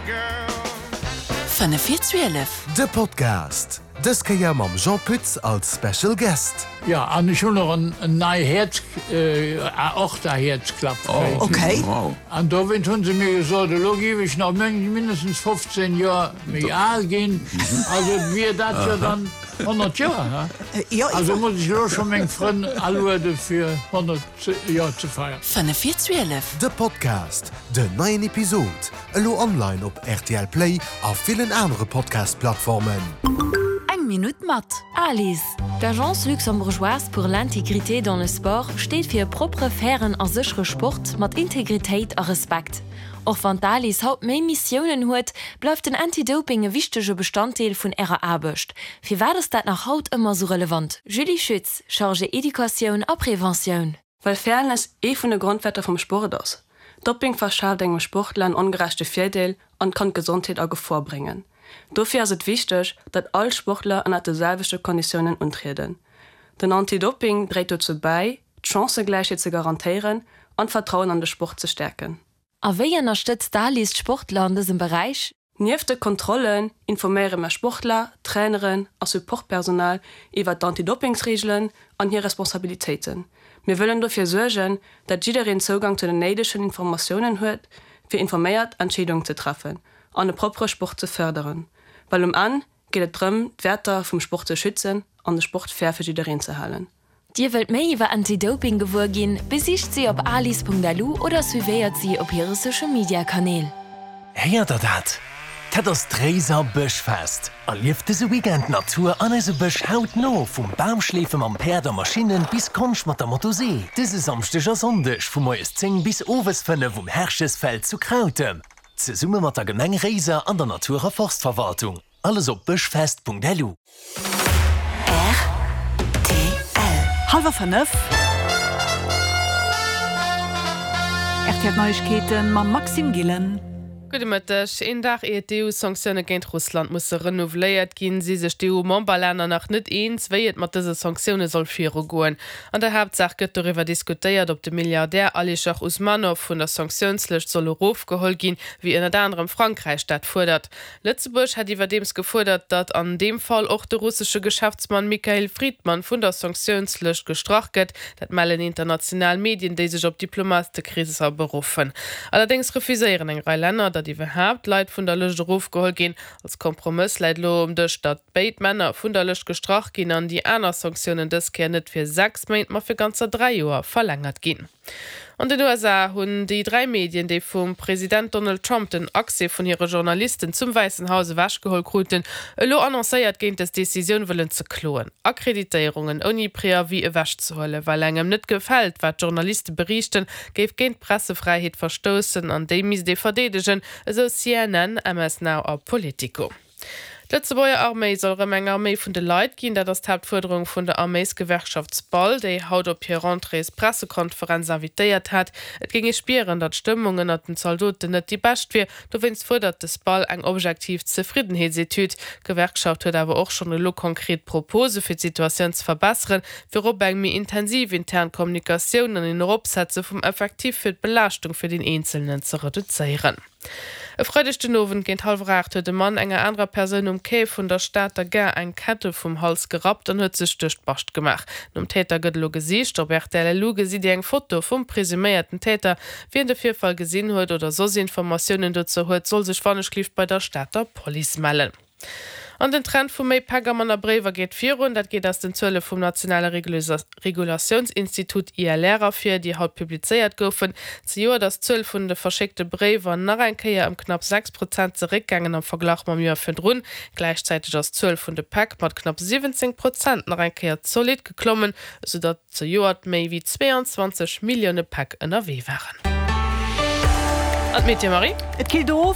5 vir 12. De Podcast, dës Kéier mam Jean Pütz als Special Guest. Jo, an ech hunn och en nei Häerz, Aorta-Häerzklapp kréien. Okay. An dowéint hunn se mir gesot, elo géif ech nach mindestens 15 Joer méi al ginn. Also wier dat jo dann 100 Joer, he? Jo, Also muss ech elo scho meng Frënn aluede fir 100 Joer ze feiern. 5 vir 12. De Podcast, Den neien Episod elo online op rtl Play a villen anere Podcast-Plattformen. Eng Minutt mat Alice. D'Agence luxembourgeoise pour l'intégrité dans le sport steet fir e propere, fairen a séchere Sport mat Integritéit a Respekt. Och wann d'Alice haut méi Missiounen huet, bleift den Anti-Doping e wichtege Bestanddeel vun ärer Aarbecht. Firwat ass dat nach haut ëmmer sou relevant? Julie Schütz, Chargée Educatioun a Preventioun. Well Fairness ee vun de Grondwäerter vum Sport ass. Dopping verschaaft engem Sportler en ongerechte Virdeel an kann d'Gesondheet a Gefor bréngen. Dofir ass et wichteg, datt all Sportler ënnert de selwechte Konditiounen untrieden. Den Anti-Dopping dréit dozou bäi, d'Chancëgläichheet ze garantéieren an d'Vertrauen an de Sport ze stäerken. A wéi ënnerstëtzt d'ALIS d'Sportler an dësem Beräich? Nieft de Kontrollen informéiere mer Sportler, Traineren a Supportpersonal iwwer d'Antidoppingsreegelen an hir Responsabilitéiten. Mir wëllen dofir suergen, dat jiddereen Zougang zu den néidegen Informatiounen huet, fir informéiert Entscheedungen ze treffen an e proppere Sport ze fërderen. Well um Enn geet et drëm, d'Wäerter vum Sport ze schützen an de Sport fair fir jiddereen ze halen. Dir wëllt méi iwwer Anti-Doping gewuer ginn? Besicht si op alice.lu oder suivéiert si op hire Social Media Kanäl. Héiert der dat? Dat ass d'Réiser Bëschfest! Erlieft dëse Weekend d'Natur an eise Bësch hautno, vum Bamschleefe mam Päerd a Maschinnen bis Konscht mat der Motosee. Dëse Samschdeg a Sonndeg vu moies 10 bis owes 5 um Herchesfeld zu Krautem. Zesumme mat der Gemeng Réiser an der Natur a Forstverwaltung. Alles op bëschfest.lu. Rtl. Hallwer 5. Rtl Neiegkeeten mam Maxime Gillen. Gudde Mëtteg. Een Dag ier d'EU-Sanktioune géint Russland musse renouveléiert ginn, si sech d'EU-Memberlänner nach net eens, wéi et mat dëse Sanktioune soll virugoen. An der Haaptsaach gëtt doriwwer diskutéiert, ob de Milliardär Alischer Usmanow vun der Sanktiounslëscht soll erofgeholl ginn, wéi ënnert anerem Frankräich dat fuerdert. Lëtzebuerg hätt iwwerdeems gefuerdert, datt an deem Fall och de russesche Geschäftsmann Mikhail Fridman vun der Sanktiounslëscht gestrach gëtt. Dat mellen international Medien, déi sech op Diplomatekreesser beruffen. Allerdéngs refuséieren eng Rei Länner, datt iwwerhaapt Leit vun der Lëscht erofgeholl ginn. Als Kompromëss läit elo um Dësch, datt béid Männer vun der Lëscht gestrach ginn an déi aner Sanktiounen dës Kéier net fir 6 Méint, ma fir ganzer 3 Joer verlängert ginn. An den USA hunn déi 3 Medien, déi vum President Donald Trump den Accès vun hire Journalisten zum Wäissen Haus ewechgeholl kruten, elo annoncéiert, géint dës Decisioun wëllen ze kloen. Akkreditéierungen ouni Preavis ewechzehuelen, well engem net gefält, wat d'Journaliste beriichten, géif géint d'Pressefräiheet verstoussen an déi misst ee verdeedegen, esou CNN, MS Now a Politico. D'Lëtzebuerger Arméi soll erëm eng Arméi vun de Leit ginn. Dat ass d'Haaptfuerderung vun der Arméisgewerkschaft SPAL, déi haut op hir Rentréespressekonferenz invitéiert hat. Et géing ee spieren, datt d'Stëmmung ënnert den Zaldoten net déi bescht wier. Dowéinst fuerdert de SPAL eng objektiv Zefriddenheetsetüd. D'Gewerkschaft huet awer och schonn elo konkret Propose fir d'Situatioun ze verbesseren, virop eng méi intensiv intern Kommunikatioun an een Eropsetze vum Effectif fir d'Belaaschtung fir den Eenzelnen ze reduzéieren. E Freideg den Owend géint hallwer 8 huet e Mann enger anerer Persoun um Quai vun der Stater Gare eng Kette vum Hals gerappt an huet sech duerch d'Bascht gemaach. Nom Täter gëtt elo gesicht. Op rtl LU gesitt Dir eng Foto vum presuméierten Täter. Wien de Virfall gesinn huet oder soss Informatiounen dozou huet, soll sech wannechgelift bei der Stater Police mellen. An den Trend vu méi Päck a manner Bréiwer geet virun. Dat geet aus den Zuele vum nationale Regulatiounsinstitut ILR ervir, déi haut publizéiert goufen. Zejoert ass d'Zuel vun de verschéckte Bréiwer nach eng Kéier ëm knapp 6 Prozent zeréckgaangen am Verglach mam Joer virdrun. Gläichzäiteg ass d'Zuel vun de Päck mat knapp 17 Prozent nach eng Kéier zolidd geklommen, esou datt zejoert méi wéi 22 Millioune Päck ënnerwee waren. An d'Meteo, Marie? Et killt of.